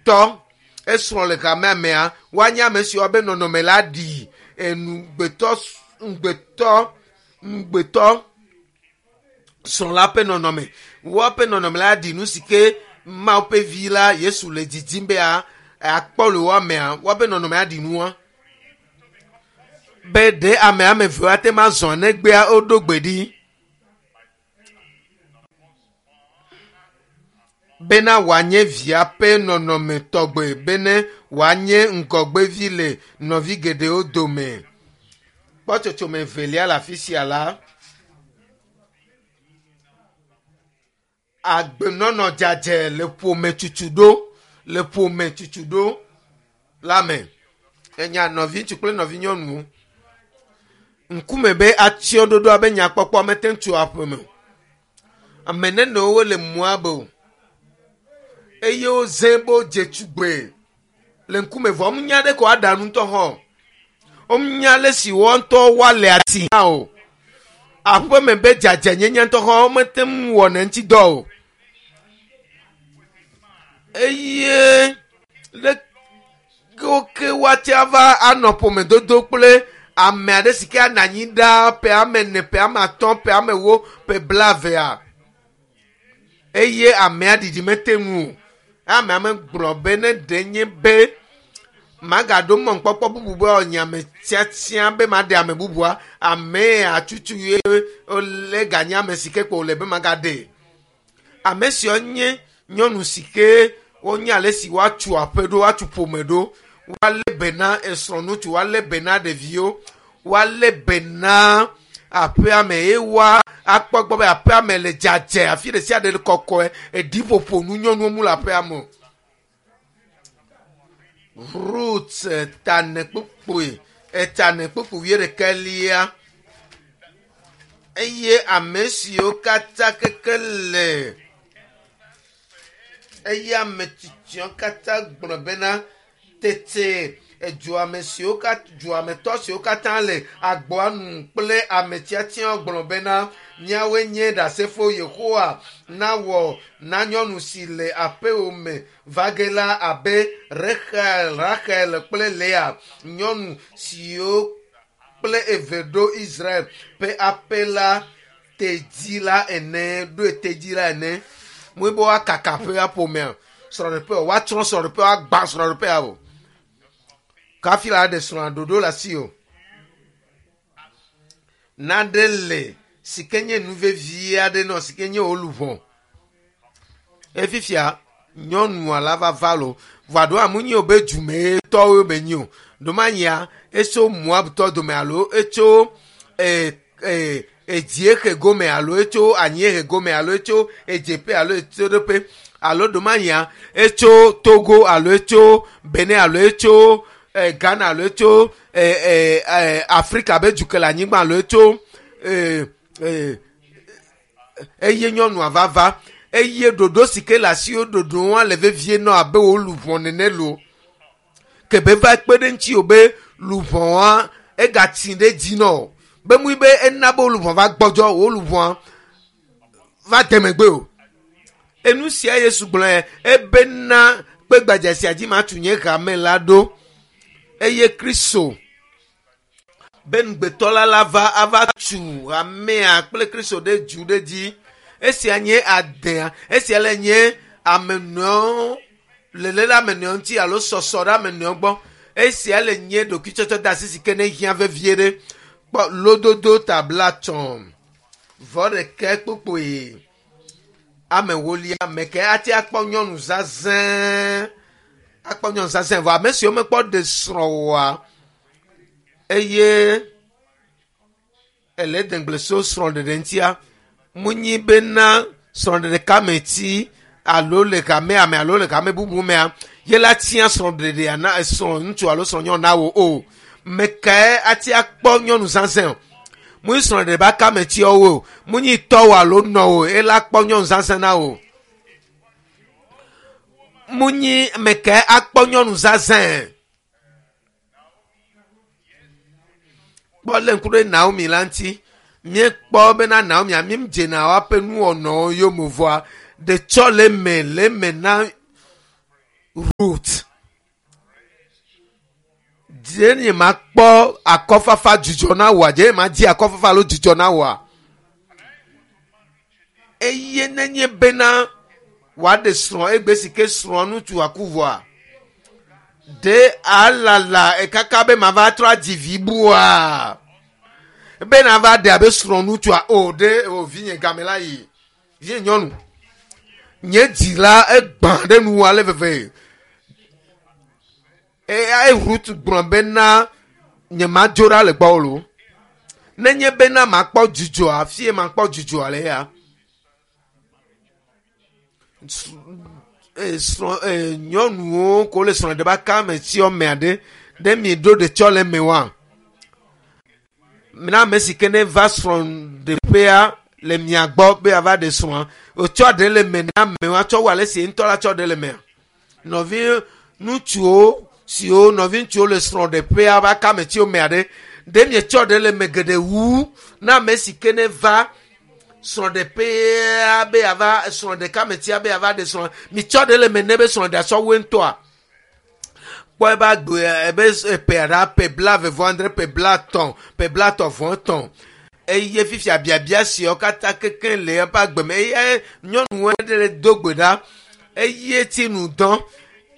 tɔ esrɔ̃ le hamea mea woanye ame siwo be nɔnɔme la ɖi enugbetɔ ŋugbetɔ ŋugbetɔ srɔ̃ la ƒe nɔnɔme woaƒe nɔnɔme la ɖi nu si ke Mawu ƒe vi la Yesu le didim be akpɔ le woamea woaƒe nɔnɔme aɖi nua be ɖe ame ame eve ate ma zɔ negbea woɖo gbe ɖi bena wòanye via ƒe nɔnɔme tɔgbe bene wòanye ŋgɔgbevi le nɔvi geɖewo dome. Kpɔtsotsome evelia le afi sia la, agbenɔnɔ dzadzɛ le ƒome tutu ɖo le ƒome tutu ɖo la me. Enya nɔviŋutsu kple nɔvinyɔnuwo ŋkume be atsyɔɖoɖo abe nyakpɔkpɔ mete ŋu tso aƒeme o. Ame nenewo le Moab o eye woze be wodze tugbe le ŋkume vɔ wonya ɖe ko aɖa nu ŋutɔ hã o. Wonya ale si woa ŋutɔ woale ati hã o. Aƒeme be dzadzɛnyenye ŋutɔ hã womete ŋu wɔna eŋuti dɔ o. Eye leke wo ke woate ava anɔ ƒomedodo kple ame aɖe si ke anɔ anyi ɖaa ƒe ame ene, ƒe ame atɔ̃, ƒe ame ewo, ƒe blaevea eye amea ɖiɖi mete ŋu o. Amea megblɔ be ne ɖe nye be magaɖo mɔnukpɔkpɔ bubu be wòanye ame tiatia be maɖe ame bubua, amea tutu ye wòle ganye ame si ke kpo wòle be magaɖe. Ame siawo nye nyɔnu si ke wonye ale si woatu aƒe ɖo, woatu ƒome ɖo, woalé be na esrɔ̃ŋutsu, woalé be na ɖeviwo, woalé be na aƒea me eye woa akpɔ gbɔ be aƒea me le dzadzɛ, afi ɖe sia ɖe le kɔkɔe, eɖiƒoƒo nu nyɔnuwo mu le aƒea me o. Rut tane kpukpui etane kpukpui wuiɖekɛlia eye ame siwo katã keke le eye ame tsitsiawo katã gblɔ bena tete eduame siwo katã duametɔ siwo katã le agboa nu kple ame tiatiawo gblɔ bena míawoe nye ɖasefo Yehowa nawɔ na nyɔnu si le aƒewò me va ge la abe Rexel, Raxel kple Lea, nyɔnu siwo kple eve ɖo Israel ƒe aƒe la tedzi la ene, ɖoe tedzi la ene. Mue be woakaka aƒea ƒomea, srɔ̃ɖeƒe o, woatsrɔ̃ srɔ̃ɖeƒe, woagbã srɔ̃ɖeƒea o. Kafi la ɖe srɔ̃a ɖoɖo le asi o. Naɖe le si ke nye nu vevi aɖe nɔ si ke nye wò luʋɔ. Efifia nyɔnua la va va lo. Vɔa ɖo amu nyi o be dumetɔwo be nyi o. Ɖomanyia etso Moabtɔ dome alo etso e e edziehe gome alo etso anyiehe gome alo etso edzeƒe alo etsoɖoƒe alo ɖomanyia etso Togo alo etso Benin alo etso e, Ghana alo etso e, e, e, Afrika be duke le anyigba alo etso e, e, eye nyɔnua va va eye ɖoɖo si ke le asiwo ɖoɖo wa le vevie nɔ abe wo luʋɔ nene lo ke be va kpe ɖe ŋuti o be luʋɔa egatsi ɖe dzi nɔ be mui be ena be wo luʋɔ va gbɔdzɔ wo luʋɔa va de megbe o enu sia Yesu gblɔ ebena kpe gbadza sia dzi matu nye hame la ɖo eye Kristo be ŋugbetɔ la la va ava tu hamea kple Kristo ɖe du ɖe dzi esia nye adea esia le nye ame nɔewo lele ɖe ame nɔewo ŋuti alo sɔsɔ ɖe ame nɔewo gbɔ esia le nye ɖokuitsɔtsɔ de asi si ke ne hiã vevie ɖe kpɔ lododo tabla tsɔ vɔ ɖeke kpokpoe ame wolia ame ke ate akpɔ nyɔnu zazẽ akpɔ nyɔnu zazẽ vɔ ame siwo mekpɔ ɖe srɔ̃ oa eye ele degble so srɔ̃ɖeɖe ŋutia munyi bena srɔ̃ɖeɖe kame ti alo le hamea me alo le hame bubu mea ye la tia srɔ̃ɖeɖea na srɔ̃ ŋutsu alo srɔ̃nyɔnu na wo o me kae ati akpɔ nyɔnu zazẽ o munyi srɔ̃ɖeɖe ba kame tiawo o munyi tɔwò alo nɔwò ela kpɔ nyɔnu zazẽ na wo munyi me kae akpɔ nyɔnu zazẽ kpɔ lé ŋku ɖe Naomi la ŋuti míekpɔ bena Naomi ami dzena woaƒe nuwɔnawo yome vɔa ɖetsɔ le eme le eme na Rut, dze nye ma kpɔ akɔfafa dzidzɔ na wòa? Dze nye ma di akɔfafa alo dzidzɔ na wòa? Eye nenye bena wòaɖe srɔ̃ egbe si ke srɔ̃ ŋutsu aku vɔa, ɖe alala ekaka be mava trɔ adzi vi bua? Be nava ɖe abe srɔ̃ ŋutsua o ɖe o vinye game la yi vinye nyɔnu nye dzi la egbã ɖe nu ale veve. Eye Rut gblɔ bena nyemadzo ɖa le gbɔwò lo. Nenye bena makpɔ dzidzɔa, fie makpɔ dzidzɔa le ya. Srɔ̃ nyɔnuwo ko le srɔ̃ ɖe ba ka me tsiɔ mea ɖe ɖe mi ɖo ɖe tsɔ le me wa. Na ame si ke ne va srɔ̃ɖeƒea le mia gbɔ be ava ɖe srɔ̃a, wòtsɔ ɖe le me na amewo tsɔ wu ale si ŋutɔ la tsɔ ɖe le mea. Nɔvi ŋutsuwo siwo nɔvi ŋutsuwo le srɔ̃ɖeƒea va ka me tsiwo mea ɖe ɖe mietsɔ ɖe le me geɖe wu na ame si ke ne va srɔ̃ɖeƒea be ava srɔ̃ɖeka me tsia be ava ɖe srɔ̃ mitsɔ ɖe le me ne be srɔ̃ɖea sɔ woe ŋutɔa. Kpɔ ebe agbe ebe ƒe ɖa ƒe 23 ƒe 50 ƒe 33 eye fifia biabia siawo katã kekeŋ le eƒe agbe me eye nyɔnuwo ɖe le do gbe ɖa eye tsi nu dɔn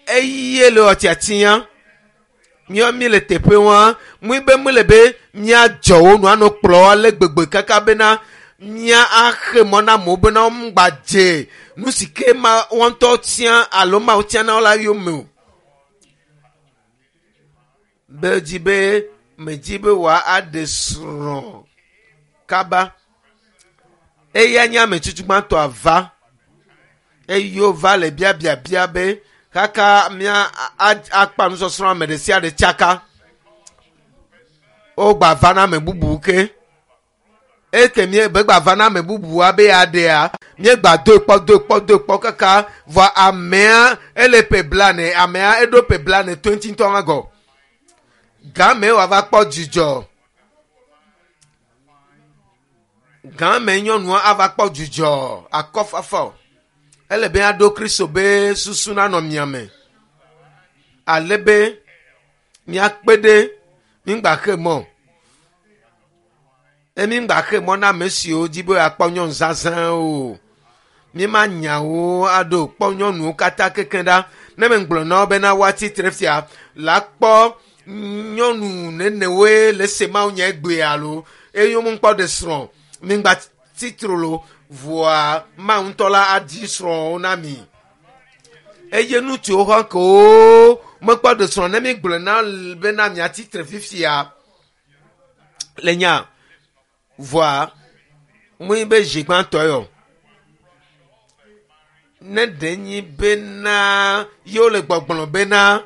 eye le wɔ tiatia míawo mi le teƒe wa mui be mu le be míadzɔ wo nu anɔ kplɔ ale gbegbe kaka bena mía axe mɔ na amewo bena woŋgba dze nu si ke ma wɔn ŋutɔ tia alo mawo tia na wo la yome o. Be dzi be medzi be wòa aɖe srɔ̃ kaba. Eya nye ame tutu gbãtɔ ava eye wova le biabiabia be kaka mía akpa nusɔsrɔ̃ ame ɖe sia ɖe tsaka. Wogba va na ame bubu ke. Eke mie be gba va na ame bubua be aɖea míegba doe kpɔ doe kpɔ doe kpɔ kaka vɔ amea ele ƒe 40 amea eɖo ƒe 40 20 ŋutɔ hã gɔ. Game wòava kpɔ dzidzɔ. Game nyɔnua ava kpɔ dzidzɔ akɔfafa. Ele be aɖo Kristo be susu nanɔ mia me. Ale be miakpe ɖe míŋgba xe mɔ. Emi ŋgba xe mɔ na ame siwo dzi be akpɔ nyɔnu zazã o. Míema nyawo aɖo kpɔ nyɔnuwo katã kekeŋ ɖa. Ne megblɔ na wo bena woatsi tre fia la kpɔ nyɔnu nenewoe le se mawu nye egbe alo eye womekpɔ ɖe srɔ̃ míŋgba tsitre lo vɔa mawu ŋutɔ la adi srɔ̃wo na mi. Eye ŋutsuwo hã kewo mekpɔ ɖe srɔ̃ ne mi gblɔ na bena miatsi tre fifia le nya vɔa mui be zi gbãtɔ yɔ. Ne ɖe nyi bena yewo le gbɔgblɔ bena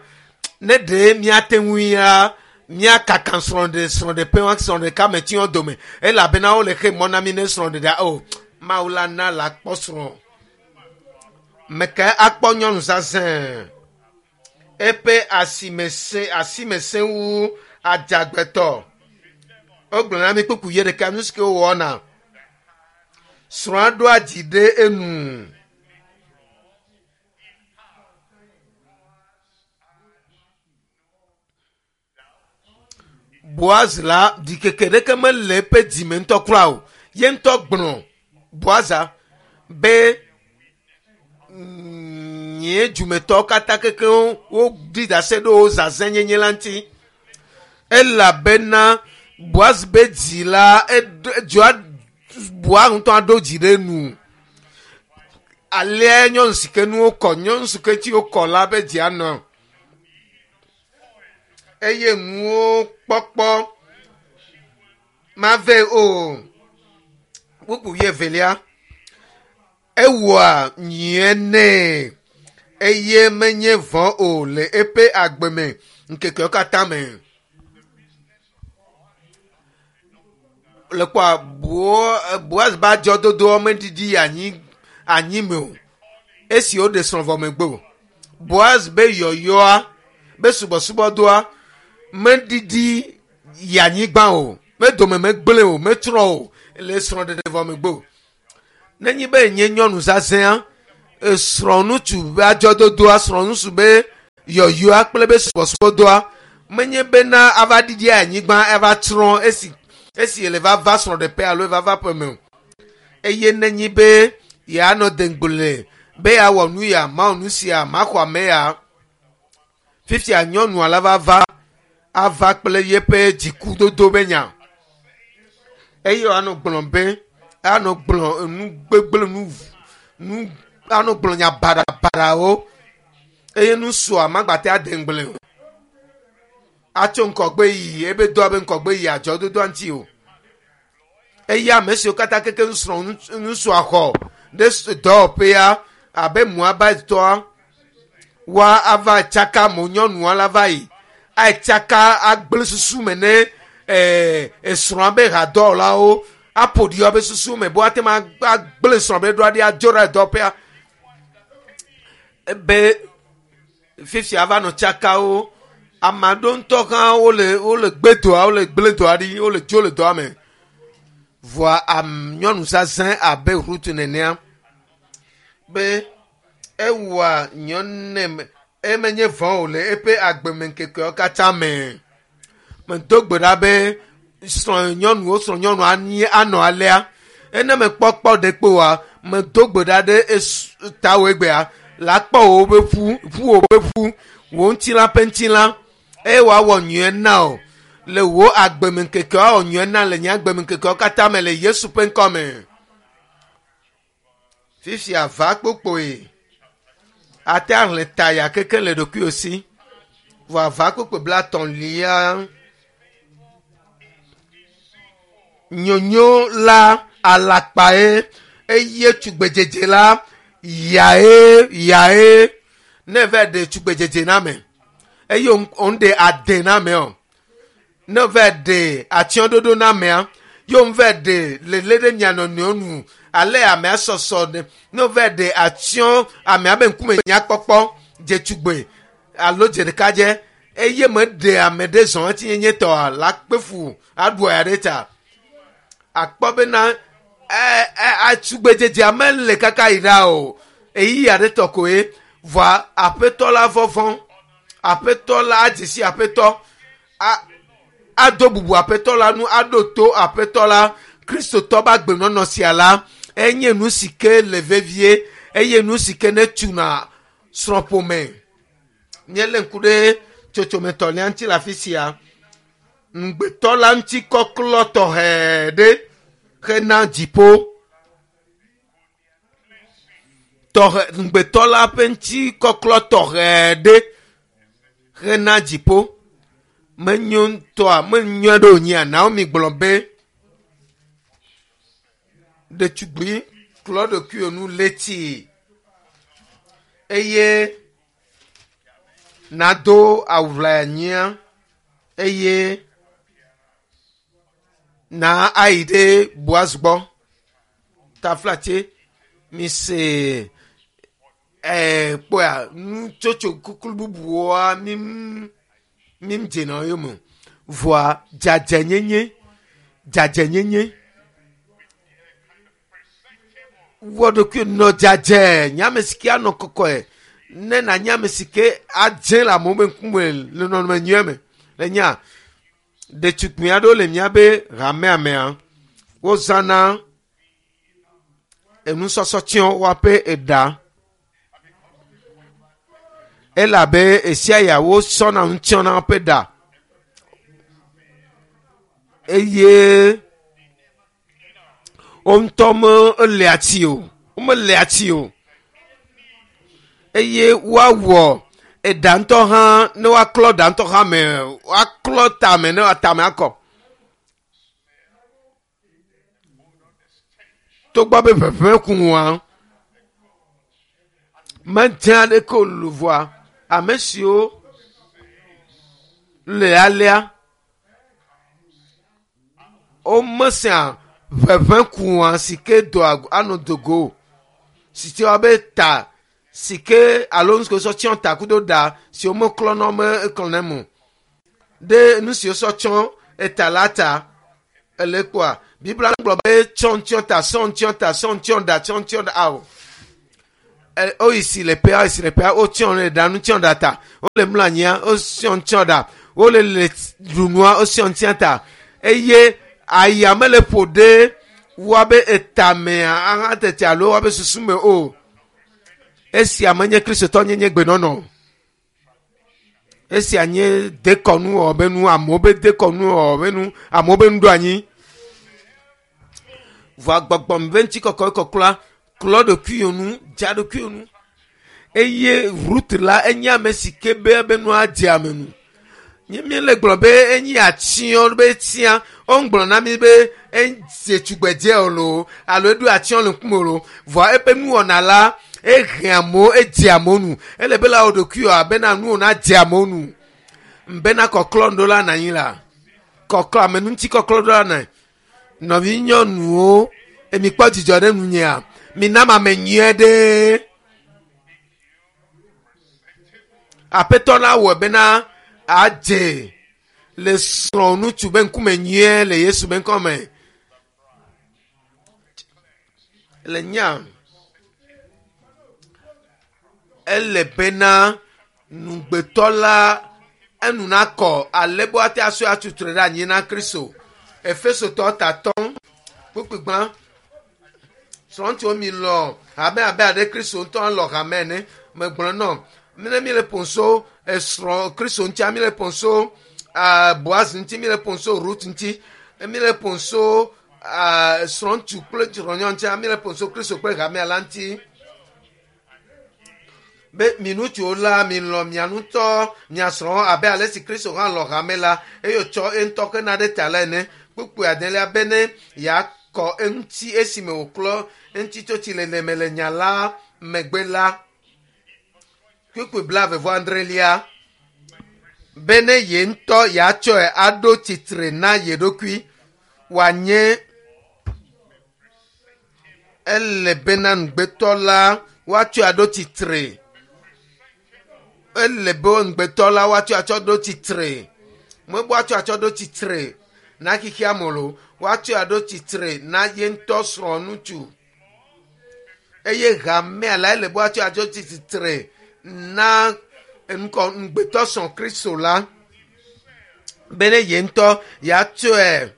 ne ɖe miate ŋui ya míakaka srɔ̃ɖe srɔ̃ɖeƒe wa srɔ̃ɖeka me tiwo dome elabena wole xe mɔ na mi ne srɔ̃ɖeɖea o Mawu la na la kpɔ srɔ̃. Meke akpɔ nyɔnu zazẽ eƒe asime sẽ asime sẽ wu adzagbetɔ. Wogblɔ na mi kpukpu ye ɖeka nu si ke wowɔna. Srɔ̃a ɖoa dzi ɖe enu. Boaz la ɖikeke ɖeke mele eƒe dzime ŋutɔ kura o. Ye ŋutɔ gblɔ Boaza be nye dzumetɔwo katã kekeŋ woɖi ɖase ɖe wo zazɛ̃nyenye la ŋuti. Elabena Boaz be dzi la edzoa Boaz ŋutɔ aɖo dzi ɖe enu. Alea nyɔnu si ke nuwo kɔ nyɔnu si ke ŋuti wokɔ la be dzi anɔ. Eye nuwo kpɔkpɔ mave o. Kpukpu wuievelia. Ewɔa nyuie nɛ eye menye vɔ̃ o le eƒe agbe me ŋkekewo katã me. Le kpɔa Boaz be adzɔdodoa meɖiɖi anyi anyi me o. Esi woɖe srɔ̃ vɔ megbe o. Boaz be yɔyɔa be subɔsubɔdɔa meɖiɖi yi anyigba o. Medome megblẽ o, metsrɔ̃ o le srɔ̃ɖeɖe vɔ megbe o. Nenye be nye nyɔnu zazɛ̃a Esrɔ̃ŋutsu be adzɔdodoa, srɔ̃ŋutsu be yɔyɔa kple be subɔsubɔdɔa menye bena ava ɖiɖi anyigba ava tsrɔ̃ esi esi le va va srɔ̃ɖeƒe alo va va ƒeme o. Eye nenyi be yeanɔ deŋgble be yeawɔ nu ya, mawɔ nu sia, maxɔ ame ya. Fifia nyɔnua la va va ava kple yeƒe dzikudodo be nya. Eye woanɔ gblɔm be anɔ gblɔ enu gbegblẽ nu nu anɔ gblɔ nya baɖabaɖawo eye nusua magbate ade ŋugble o. Atso ŋkɔgbe yi ebe doa be ŋkɔgbe yi adzɔdodoa ŋuti o. Eye ame siwo katã keke nusrɔ̃ nusua xɔ ɖe dɔwɔƒea abe Moabitɔa wa ava tsaka mo nyɔnua la va yi atsaka agblẽ susu me ne esrɔ̃a be hadɔwɔlawo aƒo ɖi woabe susu me be woate ŋu agblẽ srɔ̃ be ɖoa ɖi adzo ɖe dɔwɔƒea be fifia va nɔ tsakawo. Ame aɖewo ŋutɔ hã wole wole gbe dɔa wole gblẽ dɔa ɖi wole dzo le dɔa me. Vɔa am nyɔnu zazã abe Rut nenea be ewɔa nyɔne emenye vɔ̃ o le eƒe agbemeŋkekeawo katã me. Medo gbe ɖa be srɔ̃ nyɔnuwo srɔ̃ nyɔnu anyi anɔ alea. Ene mekpɔkpɔ ɖe kpe oa, medo gbe ɖa ɖe tawò egbea la kpɔ wò be ƒu, ƒu wò be ƒu, wò ŋutilã ƒe ŋutilã eye wòawɔ nyuie na wò le wò agbemeŋkekewo awɔ nyuie na le nye agbemeŋkekewo katã me le Yesu ƒe ŋkɔ me. Fifia va kpokpoe ate ahlẽ ta ya keke le ɖokuiwò si. Vɔ ava kpokpoe blatɔ̃lia nyonyo la alakpae eye tugbedzedze la yae yae ne va ɖe tugbedzedze na ame eye wòŋɖe ade na ame o. Ne wova ɖe atsyɔ̃ɖoɖo na amea, ye wova ɖe lele ɖe mia nɔnɔewo nu ale amea sɔsɔ ɖe. Ne wova ɖe atsyɔ̃ amea be ŋkume nyakpɔkpɔ dzetugbe alo dzeɖekadze eye meɖe ame ɖe zɔ ŋutinyenye tɔa la kpe fu aɖu aya ɖe ta. Akpɔ bena atugbedzedzea mele kaka yi ɖa o. Eyi aɖe tɔ koe. Vɔa aƒetɔ la vɔvɔ̃. Aƒetɔ la adze si aƒetɔ. A, ado bubu aƒetɔ la nu, aɖo to aƒetɔ la. Kristotɔ ƒe agbenɔnɔ sia la, enye nu si ke le vevie eye nu si ke netuna srɔ̃ƒome. Míelé ŋku ɖe tsotsome tɔ̃lia ŋuti le afi sia. Ŋugbetɔ la ŋuti kɔklɔ tɔxɛ ɖe hena dziƒo. Tɔxɛ ŋugbetɔ la ƒe ŋuti kɔklɔ tɔxɛ ɖe hena dziƒo. Menyo ŋutɔa, menyo ɖe wònyea? Naomi gblɔ be, ɖetugbui klɔ ɖokuiwò nu leti eye nado awu ʋlaya nyuia eye na ayi ɖe Boaz gbɔ. Taflatse mise ɛɛ kpɔa nutsotso kuklu bubuwoa mi mi dzena yome o. Vɔa dzadzɛnyenye dzadzɛnyenye wɔ ɖokui nɔ dzadzɛ nye ame si ke anɔ kɔkɔe ne nànye ame si ke adze le amewo be ŋkume le nɔnɔme nyui me le nya ɖetugbui aɖewo le míabe hamea mea wozãna enusɔsɔ tsiɔ woaƒe eɖa elabe esia ya wosɔna nu tsiɔna woƒe ɖa eye wo ŋutɔ melea tsi o womelea tsi o eye woawɔ eɖa ŋutɔ hã ne woaklɔ ɖa ŋutɔ hã me woaklɔ tame ne tame akɔ togbɔ be ʋeʋẽ kuŋua medze aɖeke o luvɔa ame siwo le alea womesea ʋeʋẽ kua si ke doa anɔ dogo o si te woabe ta si ke alo nu si ke wosɔ tsiɔ ta kudo ɖa si womeklɔna womeklɔna eme o ɖe nu si wosɔ tsiɔ eta la ta ele kpɔa biblia gblɔ be tsɔ ŋtsiɔ ta sɔ ŋtsiɔ ta sɔ ŋtsiɔ ɖa tsɔ ŋtsiɔ ɖa ao. Woyi si le ƒea, woyi si le ƒea, wotsyɔ le ɖa nu tsyɔ ɖa ta. Wole mlɔ anyia, wotsyɔ tsyɔ ɖa. Wole le ɖu nua, wotsyɔ tsyɔ ta. Eye aya mele ƒo ɖe woabe etamea aha tete alo woabe susu me o. Esia menye kristotɔnyenye gbenɔnɔ. Esia nye dekɔnu wɔ be nu, amewo be dekɔnu wɔ be nu, amewo be nuɖoanyi. Vɔa gbɔgbɔme be ŋutikɔkɔe kɔklɔa, klɔ ɖokuiwò nu, dza ɖokuiwò nu. Eye Rut la enye ame si ke be ebe nua dze ame nu. Nye míele gblɔ be enye atsyɔ be tia, woŋgblɔ na mi be edze tugbedze o loo alo eɖo atsyɔ le ŋkume o loo. Vɔa eƒe nuwɔna la, ehe amewo, edze amewo nu. Ele be la wɔ ɖokuiwò abena nuwò nadze amewo nu. Bena kɔklɔ ŋɖo la nanyi la. Kɔklɔ, ame ŋuti kɔklɔ ɖo la nɔ. Nɔvi nyɔnuwo, emi kpɔ dzidzɔ ɖe nunyea? Mina ame nyuie ɖe. Aƒetɔ la wɔ bena adze le srɔ̃ ŋutsu be ŋkume nyuie le Yesu be ŋkɔme. Le nya ele bena nugbetɔ la enu nakɔ ale be woate asɔe atutu ɖe anyi na Kristo. Efesotɔ tatɔ kpukpugbã srɔ̃ŋutsuwo mi lɔ hame abe aɖe Kristo ŋutɔ lɔ hame ene. Megblɔ nɔ ne mi le ƒonso esrɔ̃ Kristo ŋuti, mi le ƒonso Boaz ŋuti, mi le ƒonso Ruth ŋuti, mi le ƒonso srɔ̃ŋutsu kple srɔ̃nyɔnu ŋuti, mi le ƒonso Kristo kple hamea la ŋuti. Be mi ŋutsuwo la, mi lɔ̃ mia ŋutɔ mia srɔ̃wo abe ale si Kristo hã lɔ̃ hame la eye wòtsɔ eŋutɔ hena ɖe ta la ene. Kpukpui adelia be ne yeakɔ eŋuti esime wòklɔ eŋuti tso tsilele me le nya la megbe la. Kpukpui 22 be ne ye ŋutɔ yeatsɔe aɖo tsitre na ye ɖokui wòanye ele bena ŋugbetɔ la woatsɔe aɖo tsitre. Ele be ŋugbetɔ la woatsɔe atsɔ ɖo tsitre. Mebe woatsɔe atsɔ ɖo tsitre na xexea me o. Woatsɔe aɖo tsitre na ye ŋutɔ srɔ̃ ŋutsu. Eye hamea la ele be woatsɔe atsɔ tsitre na ŋkɔ ŋugbetɔ srɔ̃ Kristo la. Bene ye ŋutɔ yeatsɔe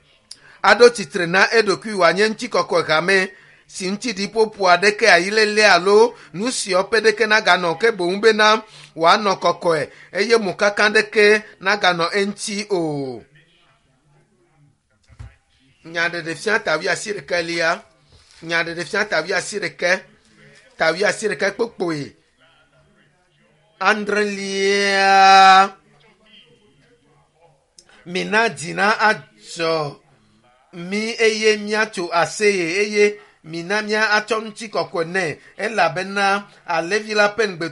aɖo tsitre na eɖokui wòanye ŋutikɔkɔe hame si ŋuti ɖiƒoƒo aɖeke ayilele alo nu siwo ƒe ɖeke naganɔ ke boŋ bena wòanɔ kɔkɔe eye mokaka ɖeke naganɔ eŋuti o. Nyaɖeɖefia ta 81lia. Nyaɖeɖefia ta 81 ta 81 kpokpoe adrelia. Mina dzi na adzɔ mi eye míatso aseye eye mina mía atsɔ ŋutikɔkɔe nɛ elabena alẽvi la ƒe ŋugbe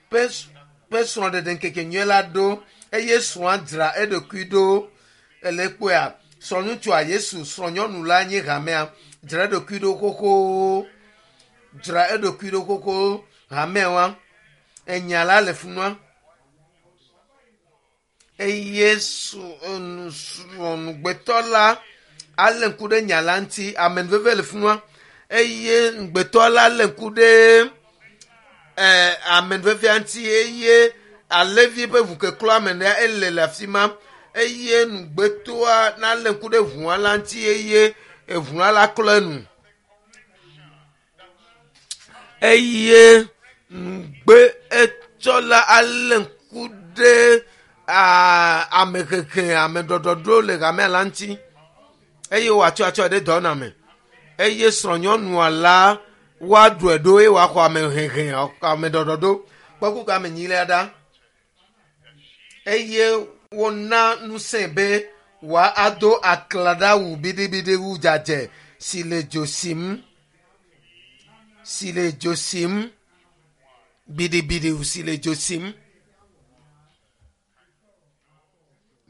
ƒe srɔ̃ɖeɖe ŋkeke nyui la ɖo eye srɔ̃a dzra eɖokui ɖo. Ele kpɔea srɔ̃ŋutsua Yesu srɔ̃nyɔnu la nye hamea dzra eɖokui ɖo xoxo dzra eɖokui ɖo xoxo hamea wa enya la le funua eye srɔ̃nugbetɔ la alé ŋku ɖe nya la ŋuti amenuveve le funua eye ŋugbetɔ la alé ŋku ɖe amenuvevea ŋuti eye alẽvi ƒe ʋukeklɔ ame ɖe ele le afi ma eye ŋugbetɔa nalé ŋku ɖe ʋua la ŋuti eye eʋua la klɔ enu eye ŋugbe etsɔ la alé ŋku ɖe amehehe ameɖɔɖɔɖo le hamea la ŋuti eye wòatsɔ atsɔ ɖe dɔ na me eye srɔ̃nyɔnua la woaɖɔe ɖo eye wòaxɔ amehehe ameɖɔɖɔɖo kpɔkuku amenyilia ɖa eye wona ŋusẽ be wòado aklaɖawu biɖibiɖi wu dzadzɛ si le dzo sim si le dzo sim biɖibiɖi si le dzo sim.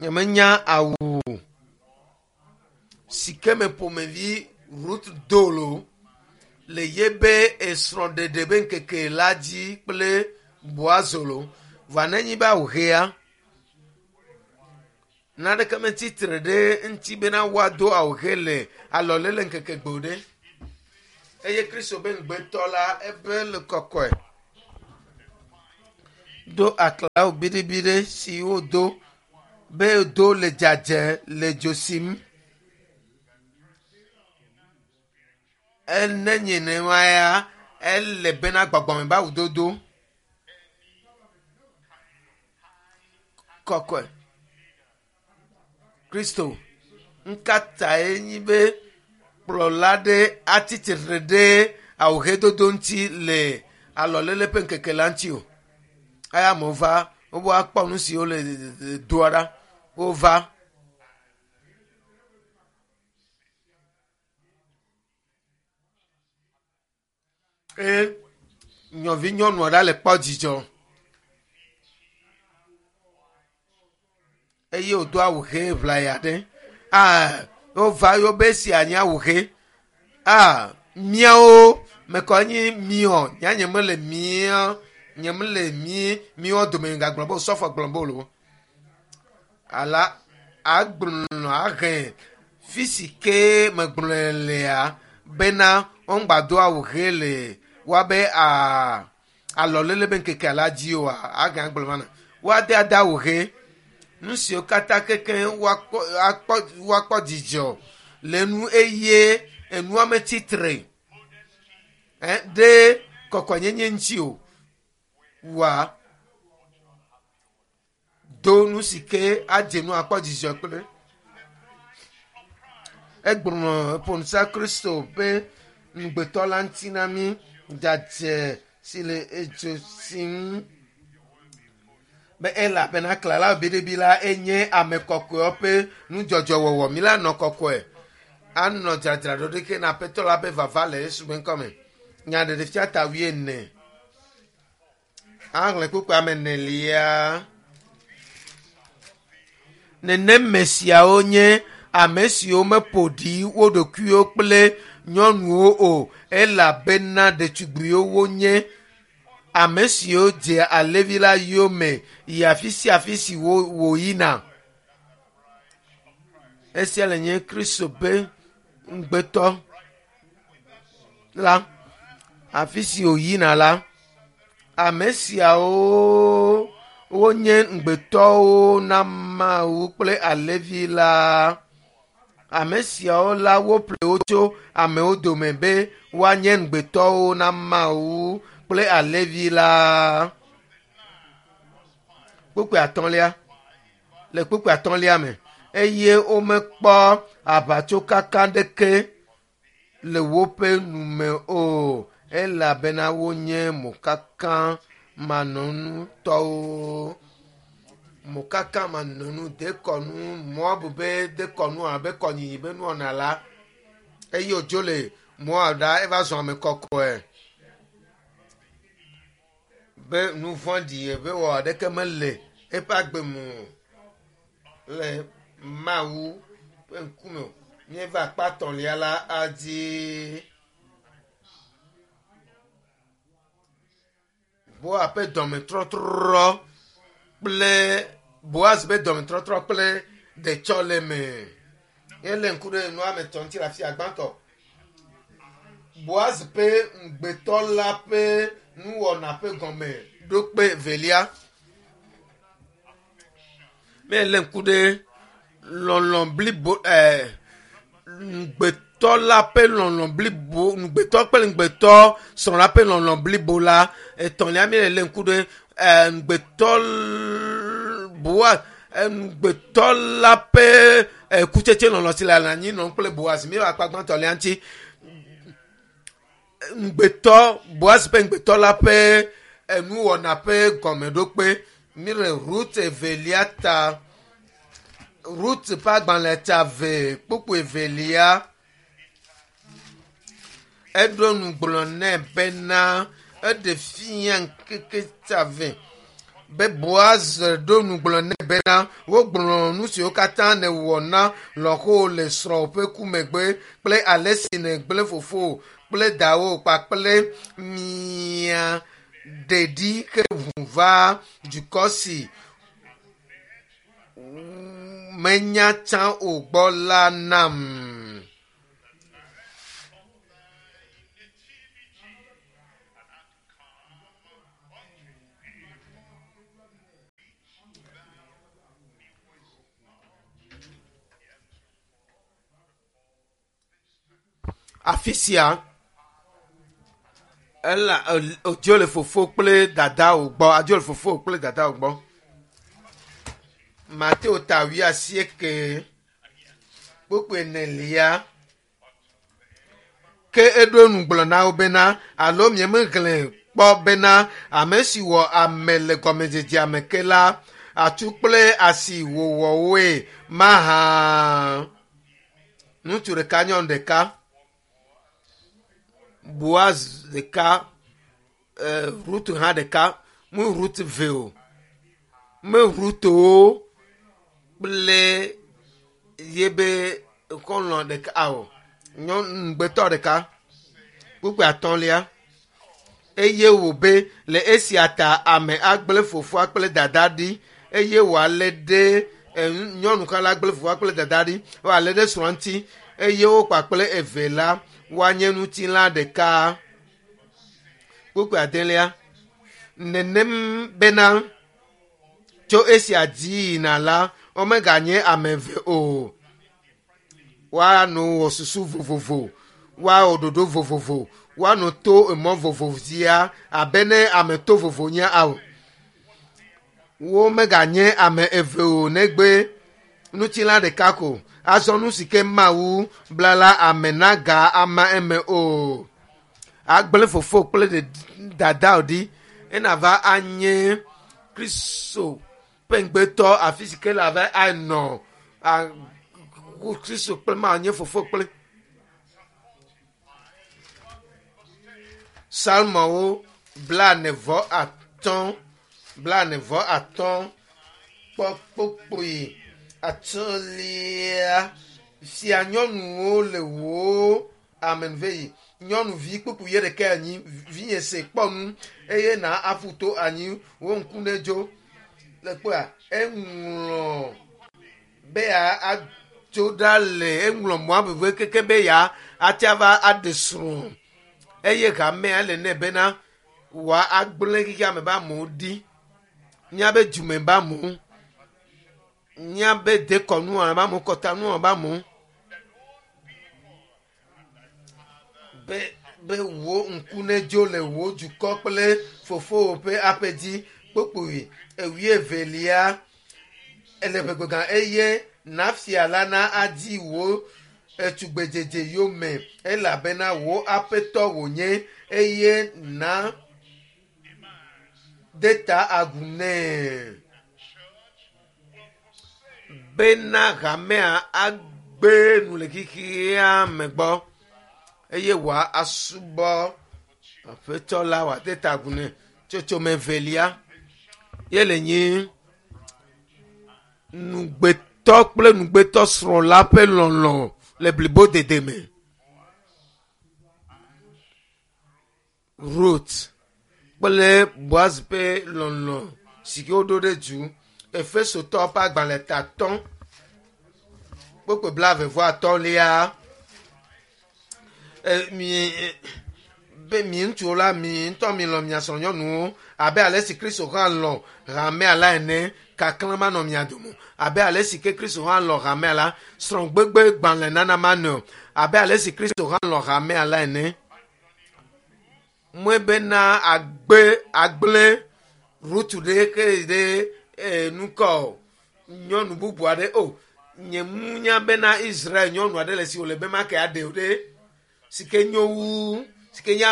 Nyemenya awu si ke me ƒomevi Ruth do lo le yebe esrɔ̃ɖeɖe be ŋkeke la dzi kple Boaz lo. Vɔa nenye be awu ɣea, naneke metsitre ɖe ŋuti bena woado awu ɣe le alɔlele ŋkeke gbe o ɖe. Eye Kristo be ŋugbetɔ la ebe le kɔkɔe. Do aklawo biɖibiɖi si wodo be do le dzadze le dzo sim. Ene nye nenema ya ele bena gbɔgbɔme be awudodo kɔkɔe. Kristo ŋkatae nyi be kplɔla ɖe atsitre ɖe awuhedodo ŋuti le alɔlele ƒe ŋkeke la ŋuti o. Eya amewo va wobe woakpɔ nu siwo le doa ɖa. Wova. Eye nyɔvi nyɔnua ɖa le kpɔ dzidzɔ. Eye wòdo awu ʋe ʋlaya ɖe. Aa wova yewo be esia nye awu ʋe. Aa míawo mekɔ nyi miɔ nya nye mele mía nye mele mí míwo dome gagblɔ be osɔfo gblɔ be o. Ala agblɔ ahe fi si ke megblɔe lea bena woŋgba do awu ʋe le woabe aa alɔlele be ŋkekea la dzi oa agã gblɔ mana woade ade awu ʋe nu siwo katã keke woakpɔ akpɔ woakpɔ dzidzɔ le nu eye enua metsitre ɛ ɖe kɔkɔenyenye ŋuti o wa do nu si ke adze nu akpɔ dzidzɔ kple egblɔ ƒonusa Kristo be ŋugbetɔ la ŋuti na mí dzadze si le edzo si ŋu be elabena klala biɖibi la enye ame kɔkɔewo ƒe nudzɔdzɔwɔwɔ mi la nɔ kɔkɔe anɔ dzadzraɖo ɖeke na aƒetɔ la be vava le Yesu ƒe ŋkɔme. Nyaɖeɖefia ta wuiene. Ahlẽ kpukpui ame enelia. Neneme siawo nye ame siwo meƒo ɖi wo ɖokuiwo kple nyɔnuwo o elabena ɖetugbiwo wonye. Ame siwo dzea alevi la yome yi afi sia afi si wo wòyina. Esia le nye Kristo ƒe ŋugbetɔ la. Afi si wòyina la, ame siawo wonye ŋugbetɔwo na Mawu kple alevi la. Ame siawo la woƒle wo tso amewo dome be woanye ŋugbetɔwo na Mawu kple alevi la. Kpukpui atɔ̃lia le kpukpui atɔ̃lia me eye womekpɔ aʋatsokaka ɖeke le woƒe nume o elabena wonye mokaka manɔnutɔwo. Mokaka manɔnu dekɔnu Moab be dekɔnu abe kɔnyinyi be nuwɔna la eye wòdzo le Moab ɖa eva zɔ ame kɔkɔe be nu vɔ̃ɖi be wɔ aɖeke mele eƒe agbe me o le Mawu ƒe ŋkume o. Míeva akpa etɔ̃lia la adzi. Boaz ƒe dɔmetrɔtrɔ kple Boaz ƒe dɔmetrɔtrɔ kple ɖetsɔleme. Míelé ŋku ɖe nua me tɔ ŋuti le afia gbãtɔ. Boaz ƒe ŋugbetɔ la ƒe nuwɔna ƒe gɔme ɖo kpe evelia. Míelé ŋku ɖe lɔlɔ̃ blibo ɛɛ ŋugbetɔ la ƒe lɔlɔ̃ blibo ŋugbetɔ kple ŋugbetɔ srɔ̃ la ƒe lɔlɔ̃ blibo la. Etɔ̃lia míele ŋku ɖe ɛɛ ŋugbetɔ Boaz ŋugbetɔ la ƒe kutsetse lɔlɔ̃ si le anyi nɔm kple Boaz. Míeva akpa gbãtɔ lia ŋuti. Ŋugbetɔ Boaz ƒe ŋugbetɔ la ƒe enuwɔna ƒe gɔmeɖokpe. Míele Rut evelia ta. Rut ƒe agbalẽ ta ve kpukpui evelia. Eɖo nu gblɔ nɛ bena eɖe fia ŋkeke ta ve be Boaz ɖo nu gblɔ nɛ bena wogblɔ nu siwo katã nèwɔ na lɔ̃xowò le srɔ̃wò ƒe ku megbe kple ale si nègblẽ fofowò kple dawò kpakple mia ɖeɖi he ʋu va dukɔ si menya tsã o gbɔ la nam. Afi sia ela odzo le fofo kple dadawo gbɔ adzo le fofo kple dadawo gbɔ. Mateo ta 80 kpukpui 4. Ke eɖo nu gblɔ na wo bena alo miemexlẽ kpɔ bena ame si wɔ ame le gɔmedzedzea me ke la atsu kple asi wòwɔ woe mahã. Ŋutsu ɖeka nyɔnu ɖeka. Boaz ɖeka, Rut hã ɖeka. Mu Rut ve o. Me Rutowo kple yebe xɔlɔ̃ ɖeka o. Nyɔnu ŋugbetɔ ɖeka. Kpukpui 5. Eye wòbe le esia ta ame agblẽ fofoa kple dada ɖi eye wòalé ɖe nyɔnu xa la gblẽ fofoa kple dada ɖi wòalé ɖe srɔ̃a ŋuti eye wo kpakple eve la woanye ŋutilã ɖeka. Kpukpui 6. Nenem bena tso esia dzi yina la womeganye ame eve o. Woanɔ wɔ susu vovovo, woawɔ ɖoɖo vovovo, woanɔ to emɔ vovovo dzia abe ne ame to vovo nye ao. Womeganye ame eve o negbe ŋutilã ɖeka ko. Azɔ nu si ke Mawu bla la ame naga ama eme o. Agblẽ fofo kple dada ɖi ena va anye Kristo ƒe ŋugbetɔ afi si ke la va anɔ Kristo kple Mawu nye fofo kple. Psalmowo 45 45 kpɔ kpukpui 5. Fia nyɔnuwo le wò amenuveyi. Nyɔnuvi kpukpui ye ɖeka anyi vinye se kpɔ nu eye na aƒu to anyi wo ŋku ne dzo. Le kpɔa eŋlɔ be ya adzo ɖa le eŋlɔ Moab ƒe keke be ya atia va aɖe srɔ̃ eye hamea le nɛ bena wòa agblẽ xexea me be amewo ɖi. Míabe dume be amewo, míabe dekɔnu be amewo, kɔtanu be amewo. Be wò ŋku ne dzo le wò dukɔ kple fofowò ƒe aƒe dzi. Kpukpui 22 ele ʋegbegã eye nafia la na adi wò etugbedzedze yome elabena wò aƒetɔ wònye eye na de ta agu nɛ. Bena hamea agbe nu le xexea me gbɔ eye wòa asubɔ aƒetɔ la wòade ta agu nɛ. Tsotsome 2 ye le nyi ŋugbetɔ kple ŋugbetɔ srɔ̃ la ƒe lɔlɔ̃ le blibodede me. Rut kple Boaz ƒe lɔlɔ̃ si ke woɖo ɖe du. Efesotɔ ƒe agbalẽ ta 3 kpukpui 23. Be mi ŋutsuwo la mi ŋutɔ mi lɔ̃ mia srɔ̃nyɔnuwo abe ale si Kristo hã lɔ̃ hamea la ene. Kaklã manɔ mia dome abe ale si ke Kristo hã lɔ̃ hamea la. Srɔ̃gbegbe gbalẽ nana manɔe o abe ale si Kristo hã lɔ̃ hamea la ene. Mɔe bena agbe agblẽ Rut ɖe ke ɖe nukɔ nyɔnu bubu aɖe o. Nye ŋu bena Israel nyɔnu aɖe le si wòle be make aɖe o ɖe si ke nyo wu si ke nye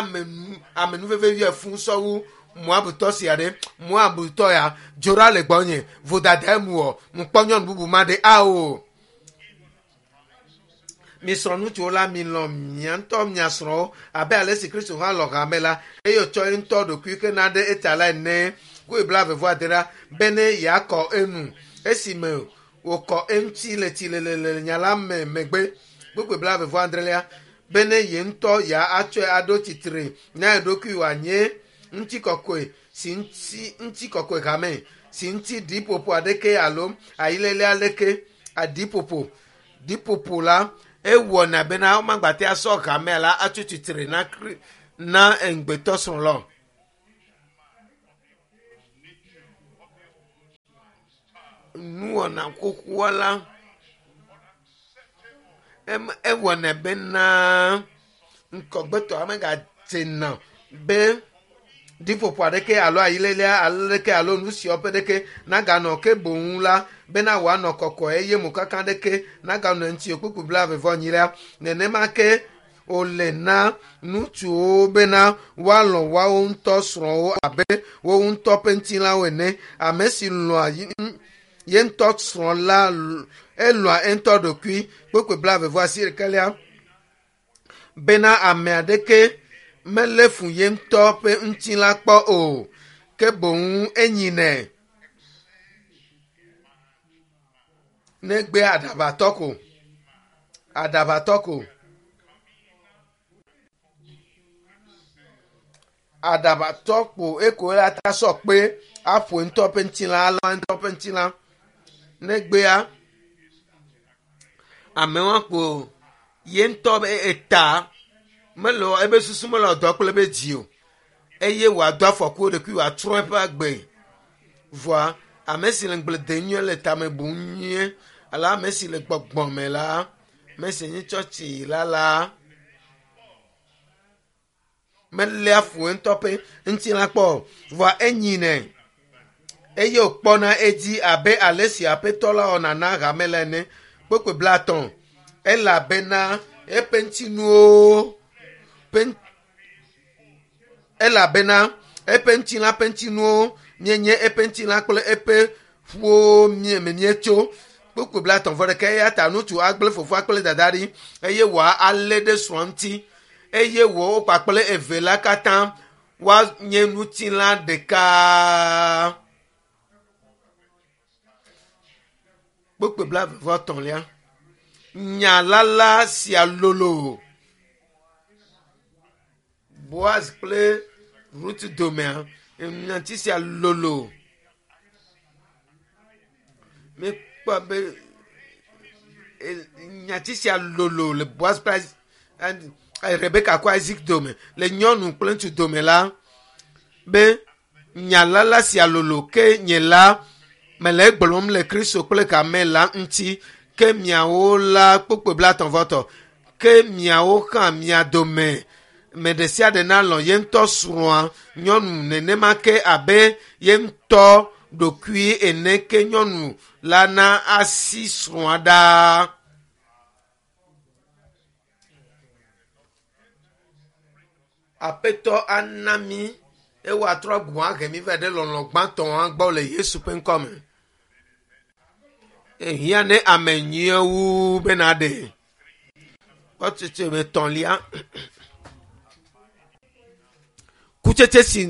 amenuveve yɔe fũ sɔwu Moabtɔ sia ɖe. Moabtɔ ya dzo ɖa le gbɔnye vodada emu wɔ ŋkpɔ nyɔnu bubu ma ɖe ao. Mi srɔ̃ ŋutsuwo la mi lɔ̃ mia ŋutɔ mia srɔ̃wo abe ale si Kristo hã lɔ̃ hame la eye wòtsɔ ye ŋutɔ ɖokui ke na ɖe eta la ene. Kpukpui 26 bene yeakɔ enu esime wòkɔ eŋuti le tsilele le nya la me megbe. Kpukpui 26 bene ye ŋutɔ ya atsɔe aɖo tsitre na eɖokui wòanye ŋutikɔkɔe si ŋuti ŋutikɔkɔe hame si ŋuti ɖiƒoƒo aɖeke alo ayilele aɖeke aɖiƒoƒo ɖiƒoƒo la ewɔna bena womagbate asɔ hamea la atso tsitre na na ŋugbetɔ srɔ̃ la. Nuwɔna xoxoa la ewɔna bena Ŋkɔgbetɔ megadzena be ɖiƒoƒo aɖeke alo ayilelia aɖeke alo nu siawo ƒe ɖeke naganɔ ke boŋ la bena wòanɔ kɔkɔe eye mokaka ɖeke naganɔ eŋuti o. Kpukpui 22lia nenema ke wòle na ŋutsuwo bena woalɔ̃ woawo ŋutɔ srɔ̃wo abe wo ŋutɔ ƒe ŋutilãwo ene. Ame si lɔ̃a ye ŋutɔ srɔ̃ la elɔ̃a eŋutɔ ɖokui. Kpukpui 28lia bena ame aɖeke melé fu ye ŋutɔ ƒe ŋutilã kpɔ o, ke boŋ enyinɛ negbe aɖabatɔ ko. Aɖabatɔ ko. Aɖabatɔ ko eko la ta sɔ kpe aƒo ŋutɔ ƒe ŋutilã alɔ ŋutɔ ƒe ŋutilã. Negbea amewo kpo ye ŋutɔ be eta mele ebe susu mele dɔ kple ebe dzi o eye wòado afɔku eɖokui wòatrɔ eƒe agbe. Vɔa ame si le ŋugble dem nyuie le tame bum nyuie alo ame si le gbɔgbɔ me la, ame si nye tsɔtsi la la meléa fu ŋutɔ ƒe ŋutilã kpɔ o, vɔa enyinɛ eye wòkpɔna edzi abe ale si aƒetɔ la wɔna na hame la ene. Kpukpui 50 elabena eƒe ŋutinuwo ƒe elabena eƒe ŋutilã ƒe ŋutinuwo mienye eƒe ŋutilã kple eƒe ƒuwo me mietso. Kpukpui 31 eya ta ŋutsu agblẽ fofoa kple dada ɖi eye wòalé ɖe srɔ̃a ŋuti eye wo kpakple eve la katã woanye ŋutilã ɖeka. Kpukpui 23lia. Nya lala sia lolo. Boaz kple Rut domea, nyati sia lolo. Míekpɔ be nyati sia lolo le Boaz kple Rebeka kple Isaac dome, le nyɔnu kple ŋutsu dome la, be nya lala sia lolo ke nye la mele egblɔm le Kristo kple hame la ŋuti ke miawo la kpukpui 33 ke miawo hã mia dome me ɖe sia ɖe nalɔ̃ ye ŋutɔ srɔ̃a nyɔnu nenema ke abe ye ŋutɔ ɖokui ene ke nyɔnu la na asi srɔ̃a ɖaa. Aƒetɔ ana mí eye wòatrɔ agbɔ ahe mí va ɖe lɔlɔ̃ gbãtɔa gbɔ le Yesu ƒe ŋkɔ me. Ehiã ne ame nyuie wu be naɖe. Kpɔtsetse etɔ̃lia. Kutsetse si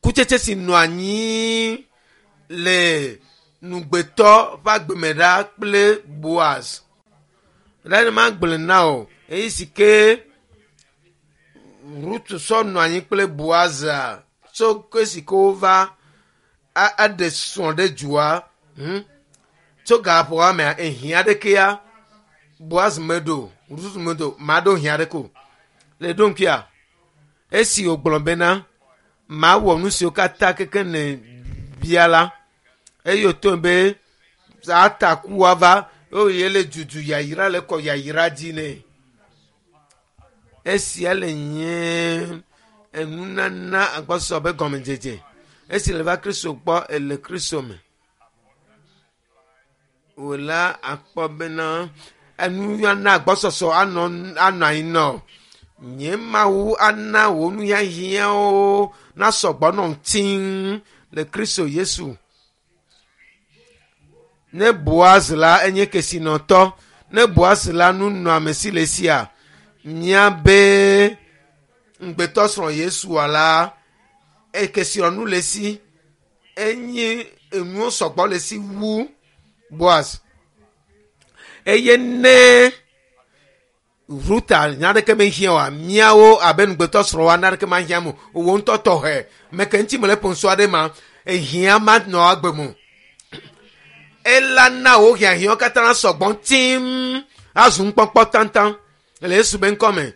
kutsetse si nɔ anyi le nugbetɔ ƒe agbeme ɖa kple Boaz. Ɖe ne magblɔe na o, eyi si ke Rut sɔ nɔ anyi kple Boaz tso ke si ke wova aɖe srɔ̃ ɖe dua. Tso gaƒoa mea ehiã ɖekea Boaz meɖo, Rut meɖo, maɖo hiã ɖeke o. Le ɖo ŋkuia, esi wògblɔ bena mawɔ nu siwo katã keke ne bia la, eye wòto be atakua va eye le dudu yayra le kɔ yayra dzi nɛ. Esia le nye enunana agbɔsɔsɔ be gɔmedzedze. Esi le va Kristo gbɔ ele Kristo me. Wò la akpɔ bena enunana agbɔsɔsɔ anɔ anɔ anyi nɔ. Nye Mawu ana wò nuhiahiãwo nasɔ gbɔ nɔ tiŋ le Kristo Yesu. Ne Boaz la enye kesinɔtɔ, ne Boaz la nunɔamesi le sia, míabe ŋugbetɔ srɔ̃ Yesua la, kesinɔnu le esi, enye enuwo sɔgbɔ le esi wu Boaz. Eye ne Ruta naneke mehiã oa, míawo abe ŋugbetɔ srɔ̃woa naneke mahiã mo. Wò ŋutɔ tɔxɛ, meke ŋuti mele ƒom sɔ aɖe ma, ehiã manɔ agbe mo. Ela na wò hiahiãwo katã sɔgbɔ tim azu nukpɔkpɔ taŋtaŋ le Yesu be ŋkɔ me.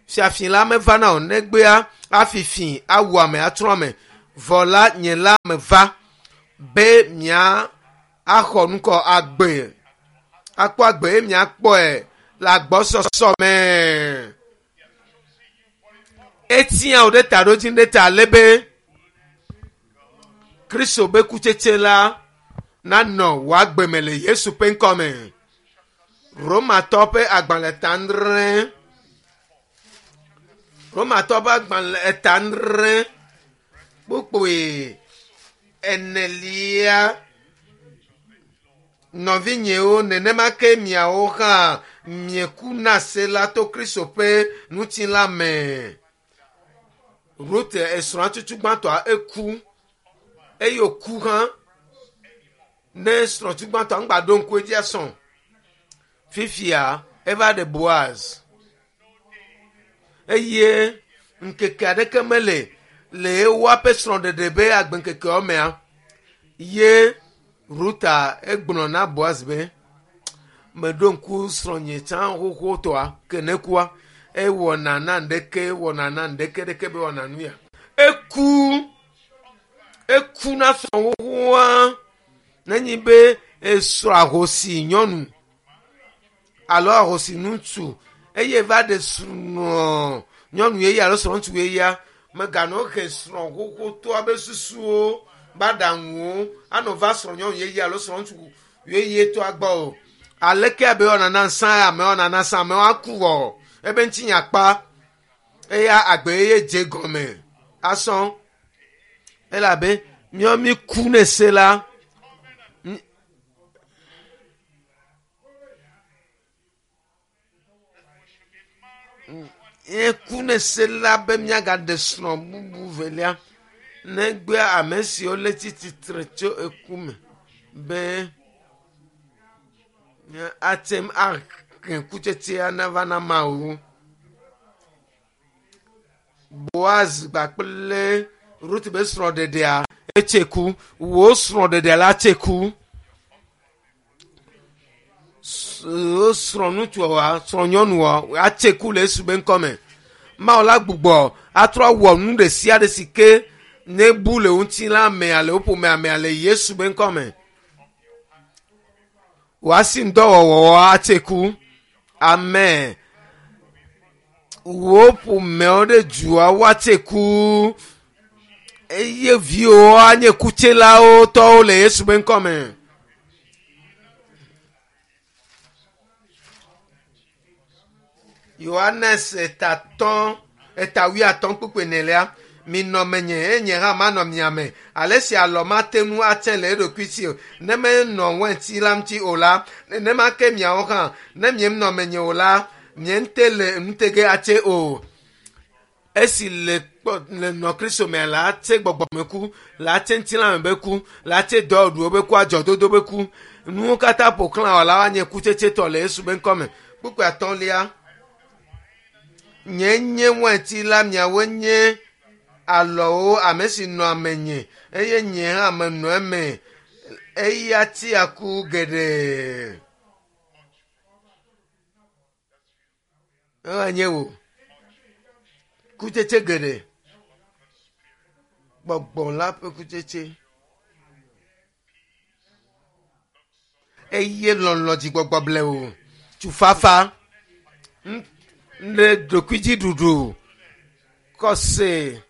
Fiafi la mevana o, negbea afi fi awu ame atrɔ ame. Vɔ la nye la meva be mia axɔ ŋkɔ agbe, akpɔ agbe eye miakpɔe Le agbɔsɔsɔ me. Etia wò ɖe taɖodzi ɖe ta ale be Kristo be kutsetse la nanɔ wò agbe me le Yesu ƒe ŋkɔ me. Romatɔ ƒe agbalẽ ta adre. Romatɔ ƒe agbalẽ ta adre kpukpui enelia. Nɔvinyewo, nenema ke miawo hã mieku na se la to Kristo ƒe ŋutilã me. Rut esrɔ̃a tutu gbãtɔa eku eye wòku hã ne srɔ̃tu gbãtɔa ŋgba ɖo ŋku edzi asɔ. Fifia eva ɖe Boaz eye ŋkeke aɖeke mele le woaƒe srɔ̃ɖeɖe be agbeŋkekeawo mea ye Ruta egblɔ na Boaz be meɖo ŋku srɔ̃nye tsã xoxotɔa ke ne kua ewɔna na ŋɖeke wɔna na ŋɖeke ɖeke be wɔna nu ya. Eku eku na srɔ̃ xoxoa nenyi be esrɔ̃ ahosi nyɔnu alo ahosi ŋutsu eye va ɖe srɔ̃ nyɔnu yeye alo srɔ̃ ŋutsu yeyea meganɔ he srɔ̃ xoxotɔa be susuwo be aɖaŋuwo anɔ va srɔ̃ nyɔnu yeye alo srɔ̃ ŋutsu yeyetɔa gbɔ o. Aleke abe wɔna na nsã ame wɔna na nsã amewo aku wɔ ebe ŋutinya kpa eya agbe yeye dze gɔme asɔ elabe míawo mi ku ne se la. Míeku ne se la be míagaɖe srɔ̃ bubu velia negbe ame siwo le tsi tsitre tso eku me be ate ŋu ahe kutsetsea nava na Mawu. Boaz kpakple Rut be srɔ̃ɖeɖea etse ku. Wò srɔ̃ɖeɖea la tse ku. Wo srɔ̃ ŋutsua, srɔ̃ nyɔnua atse ku le Yesu be ŋkɔ me. Mawu la gbugbɔ atrɔ awɔ nu ɖe sia ɖe si ke nebu le ŋutilã mea le wo ƒomea mea le Yesu be ŋkɔ me. Wò asi ŋdɔwɔwɔ atse ku. Amen. Wò ƒomewo ɖe dua woatse ku eye viwo anye kutselawo tɔwo le Yesu be ŋkɔ me. Yohanes etatɔ̃ eta wuiatɔ̃ kpukpui enelia minɔ menye eye nye hã manɔ mia me. Ale si alɔ mate ŋu atse le eɖokui si o ne menɔ wɛnti la ŋuti o la, nenema ke miawo hã ne mienɔ menye o la, miente le nutege atse o. Esi le kpɔ le nɔ Kristo mea la atse gbɔgbɔmeku, la atse ŋutilãme be ku, la atse dɔwɔɖuwo be ku, adzɔdodo be ku. Nuwo katã ƒo xlã wɔ la woanye kutsetsetɔ le Yesu be ŋkɔ me. Kpukpui atɔ̃lia. Nye nye wɛnti la, miawoe nye alɔwo, ame si nɔa menye eye nye hã menɔ eme. Eya tia ku geɖe. Ewa nye wò. Kutsetse geɖe. Gbɔgbɔ la ƒe kutsetse. Eye lɔlɔ dzigbɔgbɔ blewu. Tufafa. Ɖe ɖokuidziɖuɖu. Kɔse.